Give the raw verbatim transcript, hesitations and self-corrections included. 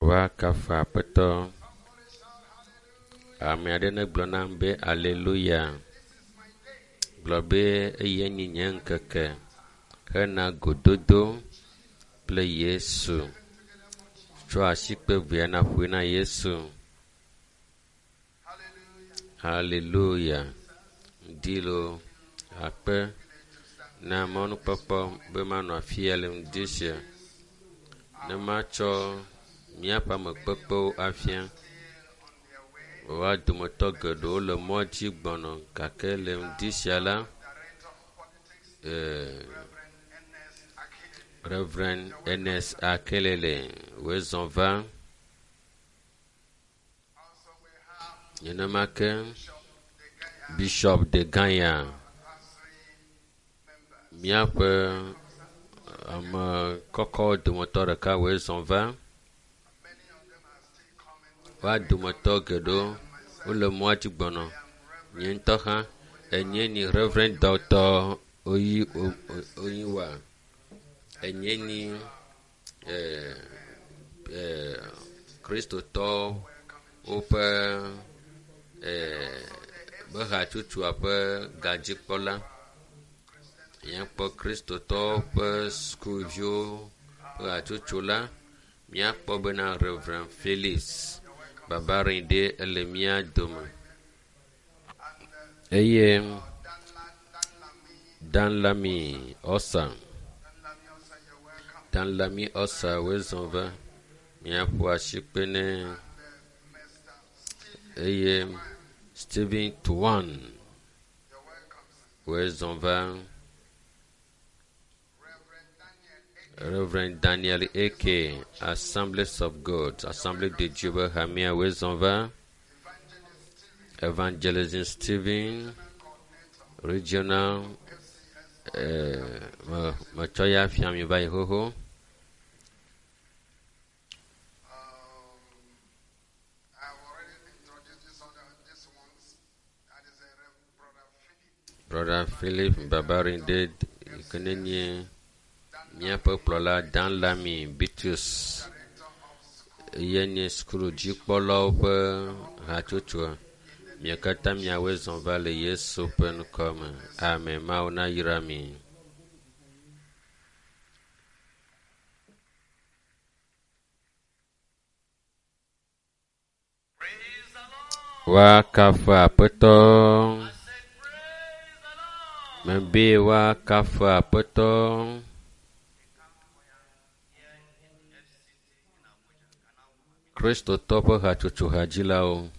Woakafu Aƒetɔ. Ame aɖe negblɔ nam be aleluya. Gblɔ be eye nye nye ŋkeke hena gododo kple Yesu. Tsɔ asikpe vea naƒoe na Yesu. Haleluya. Ŋdi loo akpe na mɔnukpɔkpɔ be manɔ afi ya le ŋdi sia ne matsɔ míaƒe amekpekpewo afia. Woa dometɔ geɖewo le mɔ dzi gbɔna gake le ŋdi sia la, ee, Reverend Ernest Akelele woe zɔ va. Nenema ke Bishop Degaya, míaƒe ame kɔkɔwo dometɔ ɖeka woe zɔ va. Woa dometɔ geɖewo wole mɔa dzi gbɔna. Nye ŋutɔ hã enye ni Reverend Doctor Oyi Oyiwa. Enye ni eh, eh, Kristotɔwo woƒe eh, be hatsotsoa ƒe gadzikpɔla. Míakpɔ Kristotɔwo ƒe sukuviwo ƒe hatsotso la. Míakpɔ bena Reverend Felix Babarinde ele mía dome eye Danlami Osa Danlami Osa woe zɔ va. Míaƒo asikpe nɛ eye Stephen Tuan woe zɔ va. Reverend Daniel A.K. Assemblies of God, Assemblée de Dieu be hamea woe zɔ va. Evangelism Stephen Regional eh, me metsɔ ya fia mi va yi xoxo. Brother Philip Babarinde yi ke ne nye míaƒe kplɔla Danlami Bitrus eye nye sukudzikpɔlawo ƒe hatsotsoa. Mia katã miawoe zɔ va le Yesu ƒe ŋkɔ me. Amen. Mawu nayra mi. Woakafu Aƒetɔ. Mebe woakafu Aƒetɔ. Kristotɔ ƒe hatsotso hadzilawo.